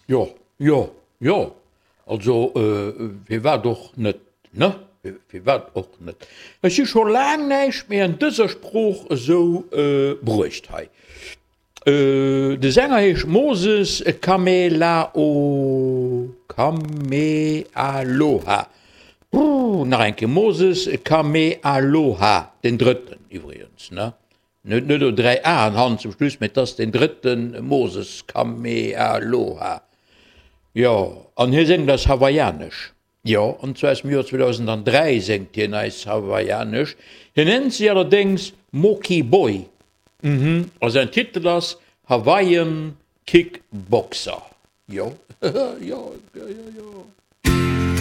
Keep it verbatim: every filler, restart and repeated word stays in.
Jo, jo, jo, also firwat och net, ne? Firwat och net? Ech hu scho laang näischt méi an dëser Sprooch esou bruecht hei. De Sänger heescht Moses Kamelao, Kamealoha. Brrr, nach eng Kéier, Moses Kamealoha, den Drëtten iwwregens, ne? En huet net elo dräi Aen hannen zum Schluss, mä et ass den drëtte Moses Kamealoha. Jo, an hie séngt eis Hawaiianesch. Jo, an zwar aus dem Joer zweedausenddräi séngt hien eis Hawaiianesch. Hien nennt sech allerdéngs Moki Boy. Mhm, a säin Titel ass Hawaiian Kickboxer. Jo, jo, jo, jo.